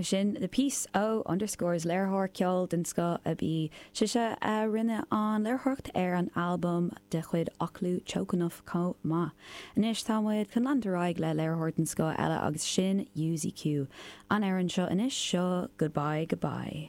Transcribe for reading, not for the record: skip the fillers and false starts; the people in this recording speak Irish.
Sin The Peace ó Underscores, léiritheoir ceoil den scoth ab í sise a rinne an léiritheoireacht ar an albam de chuid Aclú Choconuff chomh maith. Anois tá muid chun leanúint ar aghaidh le léiritheoir den scoth eile agus sin UZQ. An amhrán seo anois, seo Goodbye Goodbye.